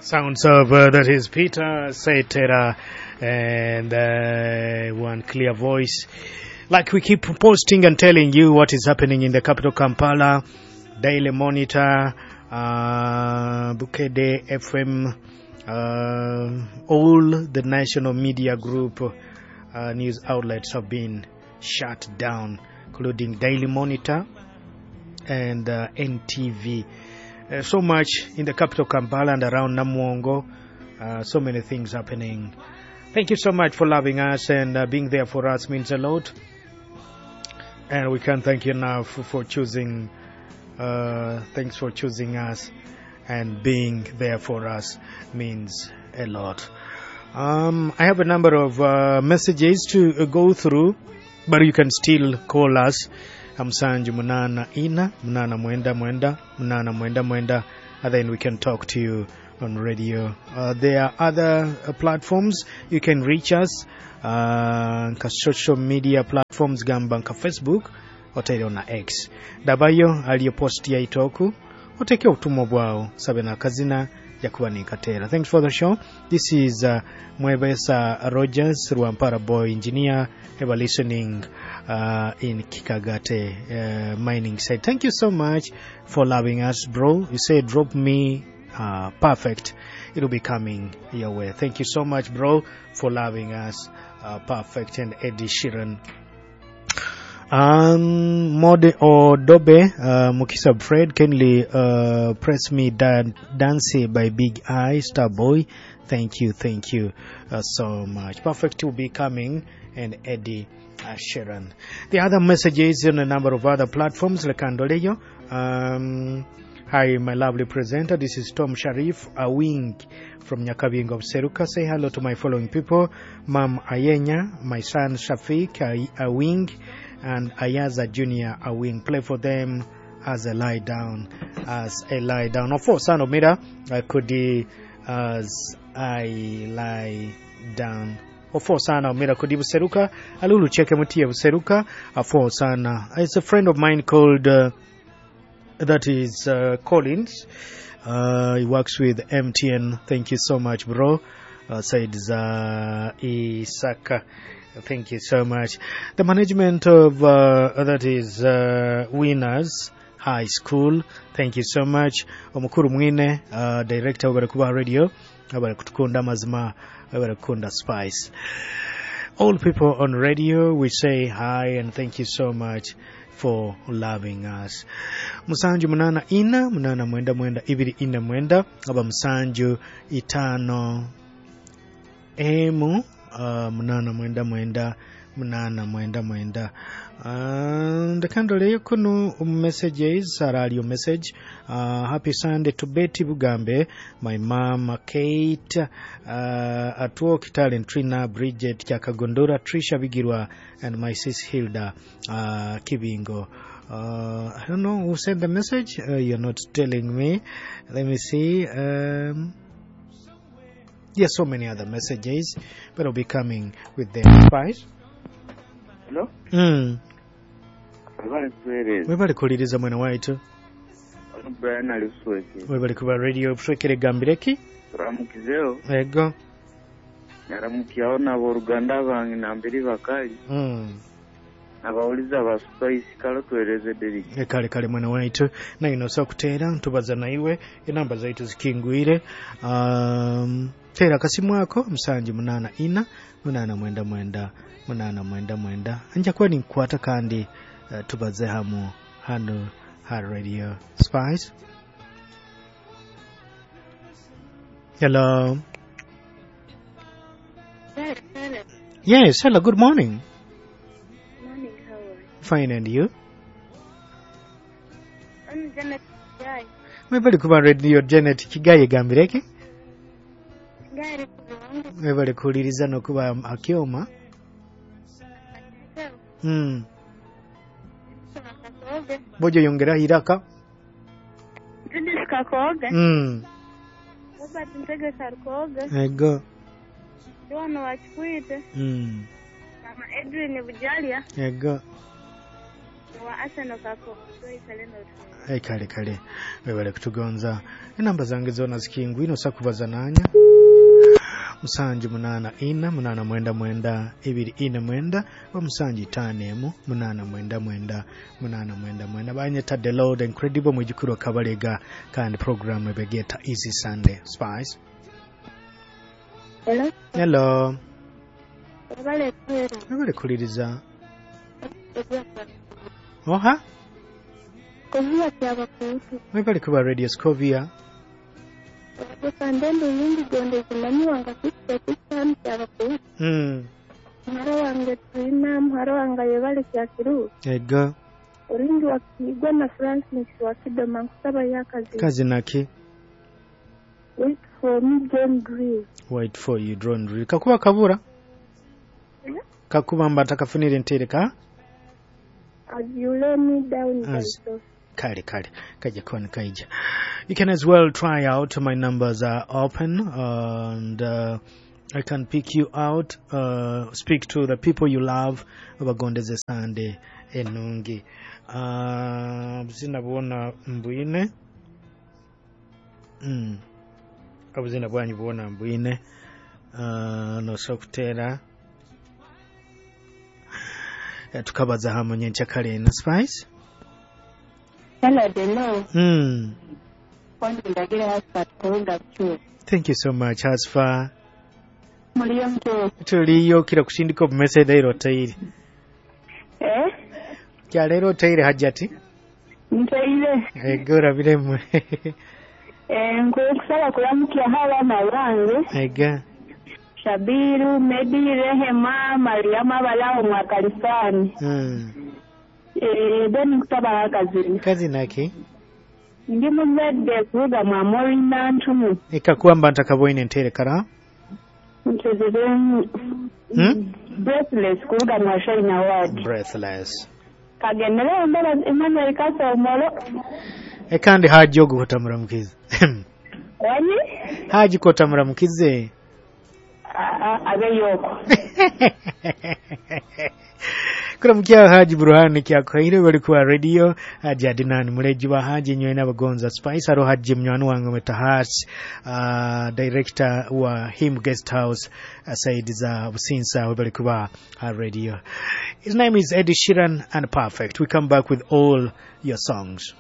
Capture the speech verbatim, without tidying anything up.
Sounds of uh, that is Peter Cetera and uh, one clear voice. Like we keep posting and telling you what is happening in the capital Kampala, Daily Monitor, uh, Bukedde F M, uh, all the national media group uh, news outlets have been shut down, including Daily Monitor and uh, N T V. Uh, so much in the capital Kampala and around Namuwongo. Uh, so many things happening. Thank you so much for loving us and, uh, being there for us means a lot. And we can't thank you enough for, for choosing. Uh, thanks for choosing us and being there for us means a lot. Um, I have a number of, uh, messages to, uh, go through, but you can still call us. Musanju munana ina, munana mwenda mwenda, munana mwenda mwenda, and then we can talk to you on radio. Uh, there are other, uh, platforms you can reach us, uh, nka social media platforms gamba nka Facebook oteere na X. Dabayo aliyo post ya itoku oteke obutumwa bwawo sabe na kazina yakuba nikatera. Thanks for the show. This is, uh, Mwebesa Rogers, Rwampara boy engineer, ever listening, uh, in Kikagate, uh, mining site. Thank you so much for loving us, bro. You say drop me, uh, perfect. It'll be coming your way. Thank you so much, bro, for loving us. Uh, perfect. And Eddie Sheeran. Um, Mode Odobe, uh, Mukisa Fred, kindly, uh, press me dan- Dance by Big Eye, Starboy. Thank you, thank you, uh, so much. Perfect will be coming, and Eddie, uh, Sheeran. The other messages on a number of other platforms, like Andoleyo. Um, hi, my lovely presenter. This is Tom Sharif Awing from Nyakabingo of Seruka. Say hello to my following people: Mam Ayenya, my son Shafiq Awing, and Ayaza Junior Awing. Play for them as a lie down, as a lie down. Of course, son of Mira, I could be as I lie down. Ofo sana Mira Kudi Buseruka, Alulu Cheke Mutia Buseruka, Afo sana. It's a friend of mine called, uh, that is, uh, Collins. Uh, he works with M T N. Thank you so much, bro. Uh, said uh, Isaka. Thank you so much. The management of, uh, that is, uh, Winners High School. Thank you so much. Omukuru Mwine, uh, director of Kuba Radio, Kutukunda Mazima, Kunda Spice. All people on radio, we say hi and thank you so much for loving us. Musanju munana ina, munana mwenda mwenda, ibiri ina mwenda, aba musanju itano emu, uh, munana mwenda mwenda, munana mwenda mwenda. And kandole kuno messages, aralio message. Uh, happy Sunday to Betty Bugambe, my mom Kate, uh, at work talent Trina, Bridget Kyakagondora, Trisha Bigirwa, and my sis Hilda, uh, Kibingo. Uh, I don't know who sent the message. Uh, you're not telling me. Let me see. Um, Yes, so many other messages, but I'll be coming with them. Spice. Hello? Mm. Webale Webale kuliriza mwana waitu. Brian Alusweke. Webale kuba radio Buswekere gambireki. Turamukizeo. Ego. Naramukiao na boruganda bange nambiri bakali. Mm. Abawuliza ba Spice kalo tueleze Derek. E kale kale mwana waitu. Na inosa kuteera ntubaza naiwe enamba zaitu zikingwire. Um, tera kasimu ako musanju munana ina munana mwenda mwenda munana mwenda mwenda anja kuba ninkwata kandi uh, tubaze hamu hano ha Radio Spice. Hello. Hello. Yes, hello, good morning. Morning, how are you? Fine, and you? I'm Janet Kigaye. Mwebale kuba Radio Janet Kigaye gambireki? Kigaye kulungi. Mwebale kuwuliriza n'okuba akyoma. Mm. Kakoge. Bojo yongera hiraka. Judith Kakoge. Mm. Robert Ntegeka Rukoge. Ego. Joan Wakikwite. Mm. Mama Edwin Bujalya. Ego. Wa Arsenal Kakoge ikale no. Hey, kale kale webale kutugonza enamba zange zona zikingwino sakubaza nanya musanju munana ina munana mwenda mwenda ibiri ina mwenda wa musanju itano emu munana mwenda mwenda munana mwenda mwenda banyeta the Lord Incredible mwijukuru wa Kabalega kandi program ebegeta Easy Sunday Spice. Hello. Hello. Webale kwera. Webale kuliriza oha Kovia kyabakutu. webale kuba Radio Scovia. Sande nduyindi gonde zinani wanga kisa kisanu kyabakutu. Mm. Muhara wange Trina, muhara wange Yebale Kyakiru. Ega Olingi wa Kigwa na Francis wa Kidoma nkusaba yakazi. Kazi naki Wait for me John Green. Wait for you drone drill kakuba kabura kakuba mba takafunire ntereka As you lay me down by As- the kale kale kaja kona kaija. You can as well try out, my numbers are open and uh, I can pick you out, uh, speak to the people you love bagondeze Sunday enungi. Uh, buzina bwona mbwine mm. Obuzina bwanyu bwona mbwine uh, nosobola okuteera Eh, tukabaza hamwe nyenkyakare eno Spice. Hello, Delo. Mm. Kwani ndagira hasa kuunga chuo. Thank you so much Hasfa. Muliyo mtu. Tuliyo kira kushindika obumese leero oteire Eh? kya leero oteire hajjati Nteire. ego orabiremu. Eh, nkusaba kulamukya abaana bange. Ega Shabiru, Medi, Rehema, Mariama balawo mwakalisani. Mm. Eh, then nkusaba akazini. Kazi naki Ndi muzadde kuvuga mwa Morina Ntumu. ekakuba ntakaboine ntere kara Ntezeze Hmm? Breathless kuvuga mwa Shaina Ward. Breathless. Kagendere mbala Emmanuel Kasomolo. Ekandi haji ogu kotamuramukize. Wani? Haji kotamuramukize. Abeyoko. Kuramukia Haji Burhani kyakwaire bali kwa radio Haji Adinani muleji wa Haji nywe n'abagonza Spice aro Haji mnywani wange Metahat uh, director wa Him Guest House uh, said za Businsa bali kuba uh, radio. His name is Eddie Sheeran and Perfect. We come back with all your songs.